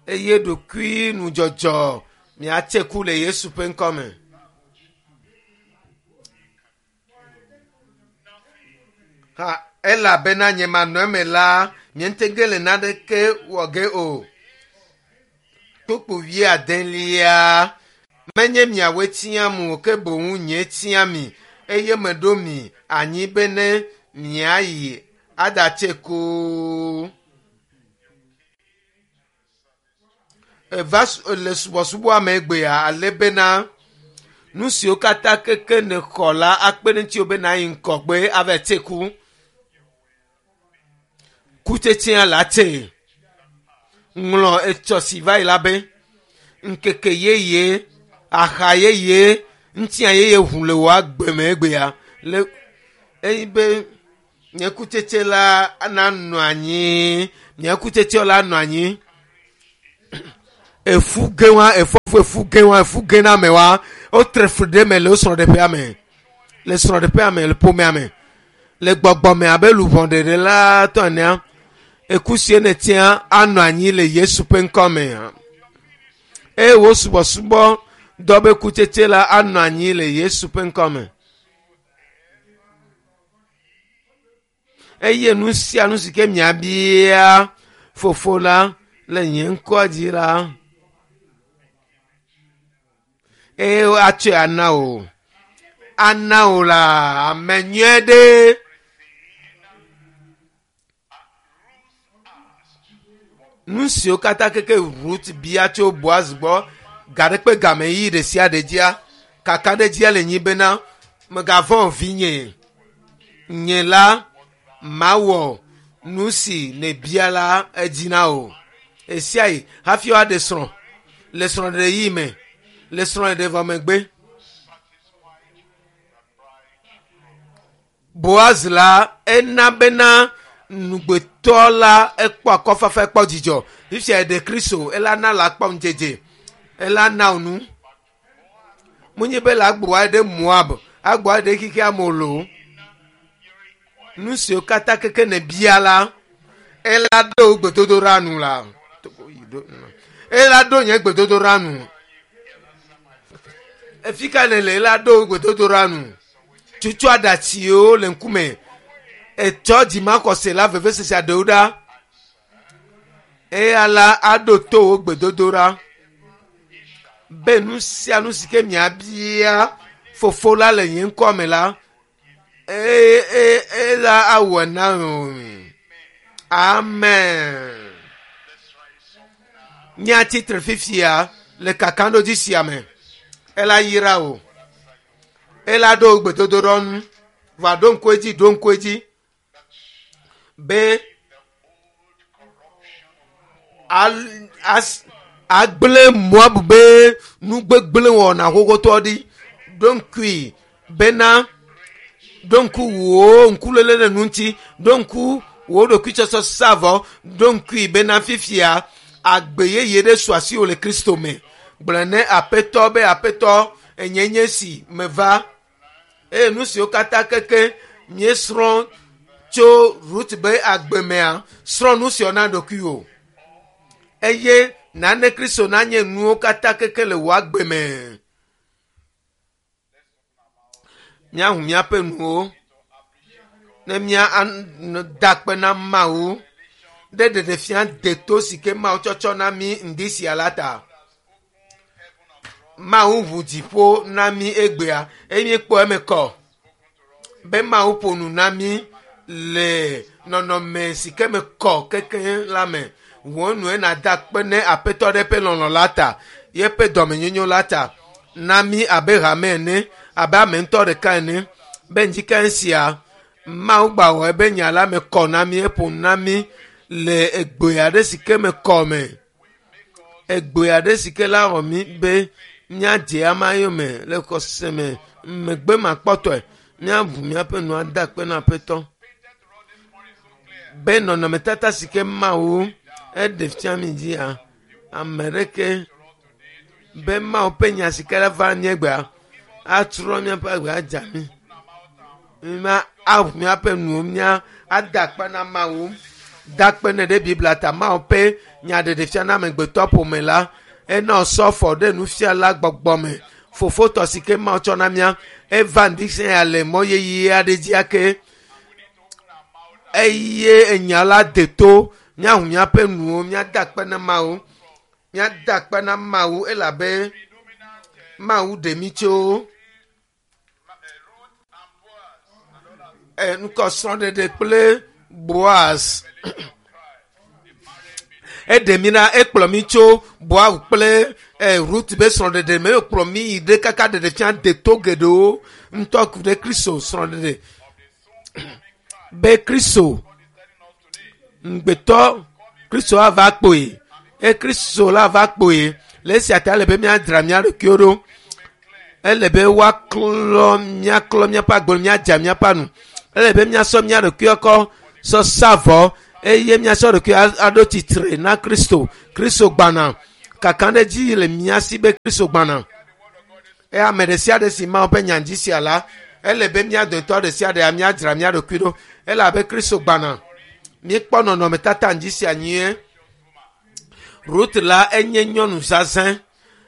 Eye ɖokui nudzɔdzɔ miatse ku le Yesu ƒe ŋkɔ me. Ha elabena nye manɔ eme la, miete ge le naneke wɔ ge o. Kpukpu wuiadelia menye miawoe tiam o ke boŋ nye tia mi eye meɖo mi anyi bene miayi aɖatse ku. Eva le subɔsubɔa me egbea ale bena nu siwo katã keke nèxɔ la akpe ɖe ŋutiwò be nàyi ŋgɔgbe ava tse ku. Kutsetsea la tse. Ŋlɔ etsɔ si va yi la be ŋkeke yeye, axa yeye, ŋutia yeye ʋu le wò agbe me egbea. Le eyi be nye kutsetse la nanɔ anyi, nye kutsetse la nɔ anyi. Efu ge wa, efɔfu efu ge wa, efu ge na ame wa, wotre fli ɖe eme le wo srɔ̃ɖeƒea me, le srɔ̃ɖeƒea me, le ƒomea me. Le gbɔgbɔme abe luʋɔ ɖeɖe la tɔ enea, eku sie nètia anɔ anyi le Yesu ƒe ŋkɔme. Eye wò subɔsubɔ dɔ be kutsetse la anɔ anyi le Yesu ƒe ŋkɔme. Eye nu sia nu si ke miabia Fofo la le nye ŋkɔ dzi la, eye woatsɔe ana wò. Ana wò la ame nyuie ɖe. Nu siwo katã keke Rut bia tso Boaz gbɔ ga ɖe kpe game yi ɖe sia ɖe dzia, kakaɖedzia le nyi bena megavɔ̃ o vinye. Nye la mawɔ nu si nèbia la edzi na wò. Esiayi hafi woaɖe srɔ̃ le srɔ̃ɖeɖe yi me, le srɔ̃ɖeɖe vɔ megbe. Boaz la ena bena nugbetɔ la ekpɔ akɔfafa ekpɔ dzidzɔ. Fifia eɖe Kristo ela na la kpɔ ŋudzedze. Ela na wò nu. Munye be la agbo aɖe Moab, agbo aɖe xexea me o. Nu siwo katã keke nèbia la, ela ɖo wò gbedodoɖa nu la. Ela ɖo nye gbedodoɖa nu. Efi ka nèle ela ɖo wò gbedodoɖa nu. Tutu aɖatsiwo le ŋkume. Etsɔ dzimaxɔse la vevesese aɖewo ɖa. Eya la aɖo to wò gbedodoɖa. Be nu sia nu si ke miabia Fofo la le nye ŋkɔ me la, eye ela awɔe na wò. Amen. Míatsi tre fifia le kakaɖodzi sia me. Ela yra wò. Ela ɖo wò gbedodoɖa nu. Va ɖo ŋku edzi, ɖo ŋku edzi be agblẽ Moab be nugbegblẽ wɔna xoxotɔ ɖi. Ɖo ŋkui bena ɖo ŋku wò ŋkuléle ɖe nu ŋuti, ɖo ŋku wò ɖokuitsɔtsɔ savɔ, ɖo ŋkui bena fifia agbe yeye ɖe su asiwò le Kristo me. Gblɔ ne Aƒetɔ be Aƒetɔ enye nye si meva. Eye nu siwo katã keke míesrɔ̃ tso Rut be agbe mea, srɔ̃ nu siawo na ɖokuiwò. Eye nane Kristo nanye nuwo katã keke le wò agbe me. Míahu míaƒe nuwo ne míada akpe na Mawu ɖe ɖeɖefia deto si ke Mawu tsɔtsɔ na mí ŋdi sia la ta. Mawu ʋu dziƒo na mí egbea eye míekpɔ eme kɔ be Mawu ƒo nu na mí le nɔnɔme si ke me kɔ kekeŋ la me. Wò nue nàda akpe ne Aƒetɔ ɖe eƒe lɔlɔ̃ la ta, yeƒe dɔmenyonyo la ta na mí abe hame ene, abe ame ŋutɔ ɖeka ene. Be ŋdikae sia, Mawu gbawɔ ebe nya la me kɔ na mí, eƒo nu na mí le egbe aɖe si ke me kɔ me. Egbe aɖe si ke la wɔ mí be míadze ama yome le xɔse me megbe makpɔtɔe. Míaʋu míaƒe nu ada akpe na Aƒetɔ. Be nɔnɔmetata si ke Mawu eɖe fia mí dzia, ame ɖeke be Mawu ƒe nya si ke la va míegbea atrɔ míaƒe agbe adza mí. Ma aʋu míaƒe nuwo mía ada akpe na Mawu. Da akpe nɛ ɖe Biblia ta Mawu ƒe nya ɖeɖe fia na amegbetɔ ƒome la. Ena wòsɔ afɔ ɖe nufiala gbɔgbɔ me. Fofotɔ si ke Mawu tsɔ na mía eva ŋdi sia le mɔ yeye aɖe dzi ake. Eye enya la de to míahu míaƒe nuwo míada akpe na Mawu. Míada akpe na Mawu elabe Mawu ɖe mí tso ŋkɔ srɔ̃ɖeɖe kple Boaz. Eɖe mí na ekplɔ mí tso Boaz kple Rut be srɔ̃ɖeɖe me ekplɔ mí yi ɖe kaka ɖeɖe fia deto geɖewo ŋutɔ ku ɖe Kristo srɔ̃ɖeɖe. Be Kristo ŋugbetɔ Kristo ava kpoe. E Kristo la va kpoe. Le esia ta ele be míadzra mía ɖokuiwo ɖo. Ele be woaklɔ míaklɔ míaƒe agbe míadza míaƒe anu. Ele be míasɔ mía ɖokuiwo kɔ sɔ sa vɔ eye míasɔ ɖokui aɖo tsitre na Kristo. Kristo gbana. Kakaɖedzi le mía si be Kristo gbana. Eye ame ɖe sia ɖe si Mawu ƒe nya dzi sia la, Ele be mía dometɔ ɖe sia ɖea míadzra mía ɖokui ɖo elabe Kristo gbana. Míekpɔ nɔnɔmetata ŋdzi sia nyuie. Rut la enye nyɔnu zazɛ̃.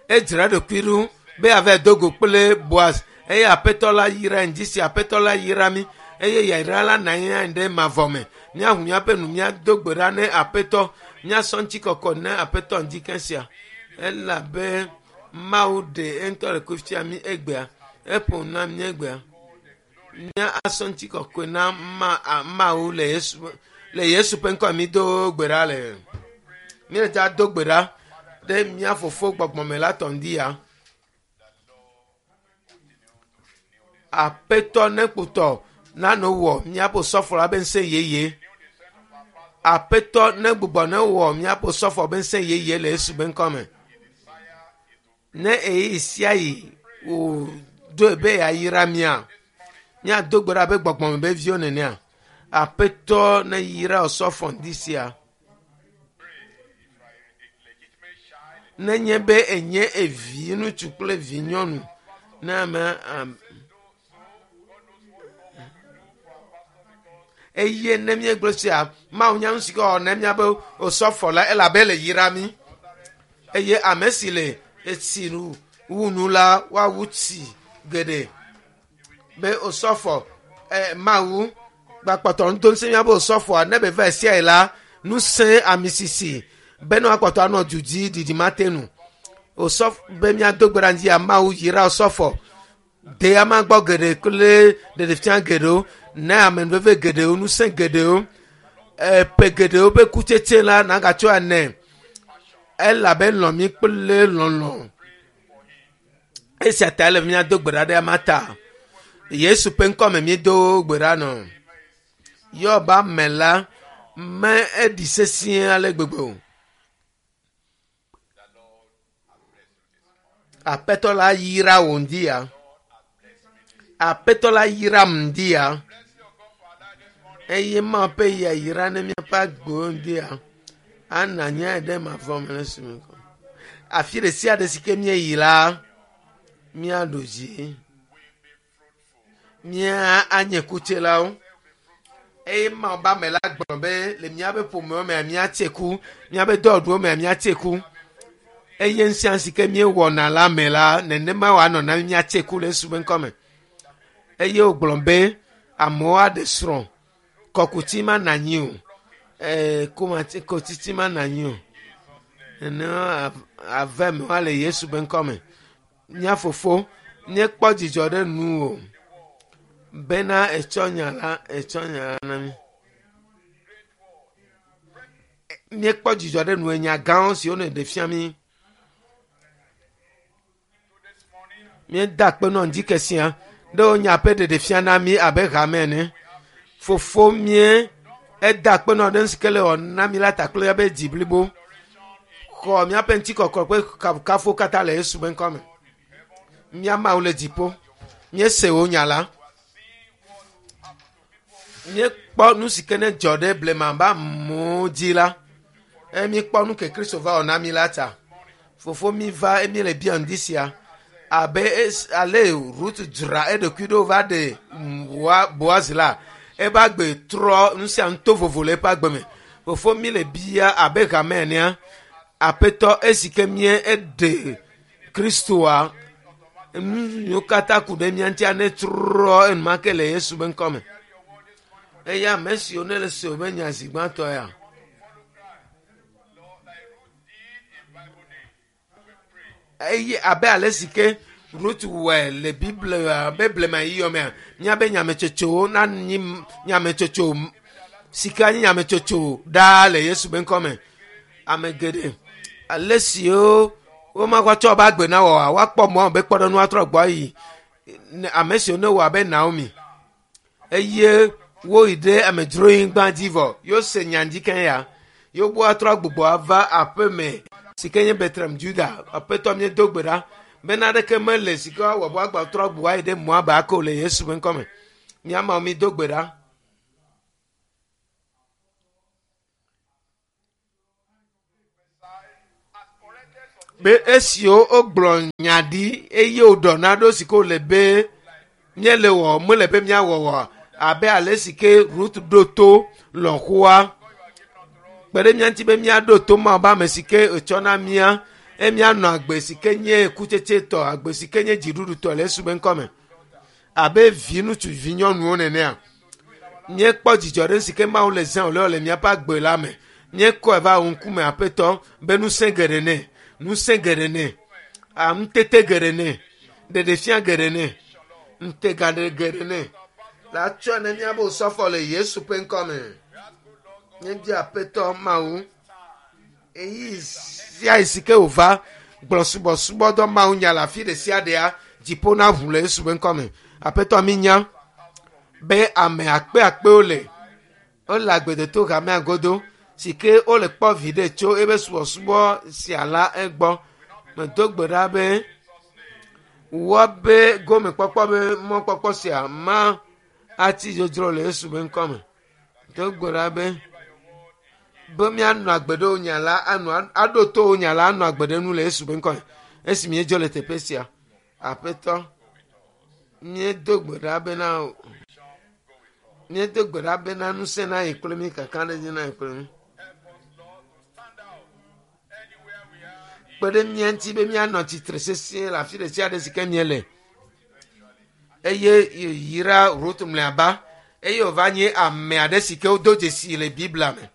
Edzra eɖokui ɖo be yeava do go kple Boaz eye aƒetɔ la yra ŋdzi sia aƒetɔ la yra mí eye yayra la na anyi ɖe mavɔ me. Míaʋu míaƒe nu míado gbe ɖa ne aƒetɔ míasɔ ŋutikɔkɔ ne aƒetɔ ŋdzi ke sia elabe Mawu ɖe eŋutɔ ɖokui fia mí egbea. Eƒo nu na mí egbea. Mía asɔ ŋutikɔkɔe na ma, Mawu le Yesu le Yesu ƒe ŋkɔ mi do gbe ɖa le. Míele dza do gbe ɖa ɖe mía fofo gbɔgbɔme la tɔ ŋdi ya. Aƒetɔ ne kpotɔ nano wɔ míaƒe sɔfo la be ŋusẽ yeye. Aƒetɔ ne gbugbɔ ne wɔ míaƒe sɔfo be ŋusẽ yeye le Yesu be ŋkɔ me. Ne eyi sia yi wòɖoe be yeayra mía, míado gbe ɖa be gbɔgbɔme be viwo nenea. Aƒetɔ ne yra osɔfo ŋdi sia. Nenye be enye evi ŋutsu kple vi nyɔnu ne ame eye ne míegblɔ sia Mawu nya nu si ke wɔ ne míabe osɔfo la elabe le yra mí eye ame si le etsi nu wu nu la woawu tsi geɖe be osɔfo eh, Mawu gbakpɔtɔ ŋutɔ ŋusẽ míabe osɔfoa ne be va sia yi la ŋusẽ amisisi be ne woakpɔtɔ anɔ du dzi ɖiɖi mate nu osɔfo be míado gbe ɖa ŋdzi ya Mawu yra osɔfo de ama gbɔ geɖe kple ɖeɖefia geɖewo ne amenuveve geɖewo ŋusẽ geɖewo eƒe geɖewo ƒe kutsetse la nagatsɔ ene elabe lɔ̃ mí kple lɔlɔ̃ esia ta ele míado gbe ɖa ɖe ama ta Yesu ƒe ŋkɔ me míedo gbe ɖa nɔ Yɔba me la me eɖi sesĩe ale gbegbe o. Aƒetɔ la yra wò ŋdi ya. Aƒetɔ la yram ŋdi ya. Eye Mawu ƒe yayra ne míaƒe agbewo ŋdi ya. Ana nye ɖe mavɔ me le esime kɔ. Afi ɖe sia ɖe si ke míeyi la, míaɖu dzi. Mía anye kutselawo. Eye Mawu be ame la gblɔ be le míaƒe ƒomewo mea míatse ku, míaƒe dɔwɔɖuwo mea míatse ku. Eye nu sia nu si ke míewɔna la me la, nenema wòanɔ na mí míatse ku le Yesu ƒe ŋkɔ me. Eye wògblɔ be amewo aɖe srɔ̃, kɔkuti mana anyi o, ee, komati, kotiti mana anyi o. Nenema ave me woa le Yesu ƒe ŋkɔ me. Mía fofo, míekpɔ dzidzɔ ɖe nuwò bena ètsɔ nya la, ètsɔ nya la na mí. Míekpɔ dzidzɔ ɖe nuwò nya gãwo siwo nèɖe fia mí. Míeda akpe nɔ ŋdi ke sia ɖe wò nya ƒe ɖeɖe fia na mí abe hame ene. Fofo mía eda akpe nɔ ɖe nu si ke le wɔ na mí la ta kple míaƒe dzi blibo. Xɔ míaƒe ŋutikɔkɔ kple kafukafu katã le Yesu ƒe ŋkɔ me. Mía Mawu le dziƒo. Míese wò nya la. Míekpɔ nu si ke ne dzɔ ɖe blema be amewo dzi la. Eye míekpɔ nu ke Kristo va wɔ na mí la ta. Fofo mi va eye míele bia ŋdi sia abe ale Rut dzra eɖokui ɖo va ɖe Boaz la eƒe agbe trɔ nu sia nu to vovo le eƒe agbe me. Fofo mi le bia abe hame enea aƒetɔ esi ke mía eɖe Kristoa nu yiwo katã ku ɖe mía ŋutia ne trɔ enumake le Yesu ƒe ŋkɔ me. Eye ame siwo ne le se woƒe nya zi gbãtɔ ya. Eye abe ale si ke Rut wɔe le Biblia be blema yiyɔ mea, míabe nyametsotsowo nanyi nyametsotso si ke anyi nyametsotso ɖaa le Yesu ƒe ŋkɔ me. Ame geɖe ale siwo womakɔ tsɔ woƒe agbe na wɔa, woakpɔ mɔ be kpɔɖeŋu atrɔ gbɔ ayi ame siwo ne wɔ abe Naomi eye woyi ɖe amedzronyigba dzi vɔ yose nya dzi ke ya yewogbɔ atrɔ gbugbɔ ava aƒe me si ke nye Bethlehem Juda. Aƒetɔ míedo gbe ɖa be naneke mele si ke woawɔ be woagba trɔ gbugbɔ ayi ɖe Moab ake o le Yesu ƒe ŋkɔ me. Mía Mawu mído gbe ɖa. Be esiwo wogblɔ nya ɖi eye woɖɔ naɖewo si ke wòle be Míele wɔ mele be míawɔ wɔ abe ale si ke Rut ɖo to lɔ̃xoa. Kpe ɖe mía ŋuti be míaɖo to Mawu be ame si ke etsɔ na mía eye míanɔ agbe si ke nye kutsetsetɔ, agbe si ke nye dziɖuɖutɔ le Yesu be ŋkɔme. Abe vi ŋutsu vi nyɔnuwo nenea. Míekpɔ dzidzɔ ɖe si ke Mawu le zã wòle le míaƒe agbe la me. Míekɔe va wò ŋkume aƒetɔ be ŋusẽ geɖe nɛ, ŋusẽ geɖe nɛ, ŋutete geɖe nɛ, ɖeɖefia geɖe nɛ, ŋutega geɖe nɛ. La tsɔe ne míabe osɔfo le Yesu ƒe ŋkɔme. Míebia aƒetɔ Mawu eyi sia yi si ke wòva gblɔ subɔsubɔdɔ Mawu nya le afi ɖe sia ɖea dziƒo na ʋu le Yesu ƒe ŋkɔme. Aƒetɔ mínya be ame akpe akpewo le wole agbedoto hamea godo si ke wole kpɔ viɖe tso ebe subɔsubɔ sia la egbɔ. Medo gbe ɖa be woabe gomekpɔkpɔ be mɔkpɔkpɔ sia ma atsi dzodzro le Yesu ƒe ŋkɔme. Do gbe ɖa be be míanɔ agbe ɖe wo nya la anɔ aɖo to wo nya la anɔ agbe ɖe nu le Yesu ƒe ŋkɔme. Esi míedzo le teƒe sia, aƒetɔ, míedo gbe ɖa bena míedo gbe ɖa bena ŋusẽ na yi kple mí kakaɖedzi na yi kple mí. Kpe ɖe mía ŋuti be míanɔ tsitre sesĩe le afi ɖe sia ɖe si ke míele. Eye yra Rut mlɔeba eye wòva nye ame aɖe si ke wodo dzesi le Biblia me.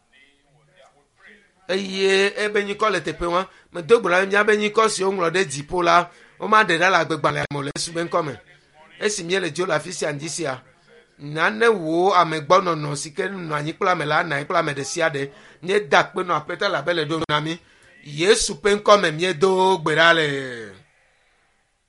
Eye ebe nyikɔ le teƒe ma. Medo gbe ɖa be míabe nyikɔ si woŋlɔ ɖe dziƒo la, womaɖe ɖa le agbegbalẽa me o le Yesu ƒe ŋkɔme. Esi míele dzo le afi sia ŋdi sia, nane wò amegbɔnɔnɔ si ke nɔ anyi kple ame la anɔ anyi kple ame ɖe sia ɖe. Míeda akpe nɔ aƒetɔ elabe le ɖo na mí. Yesu ƒe ŋkɔme míedo gbe ɖa le.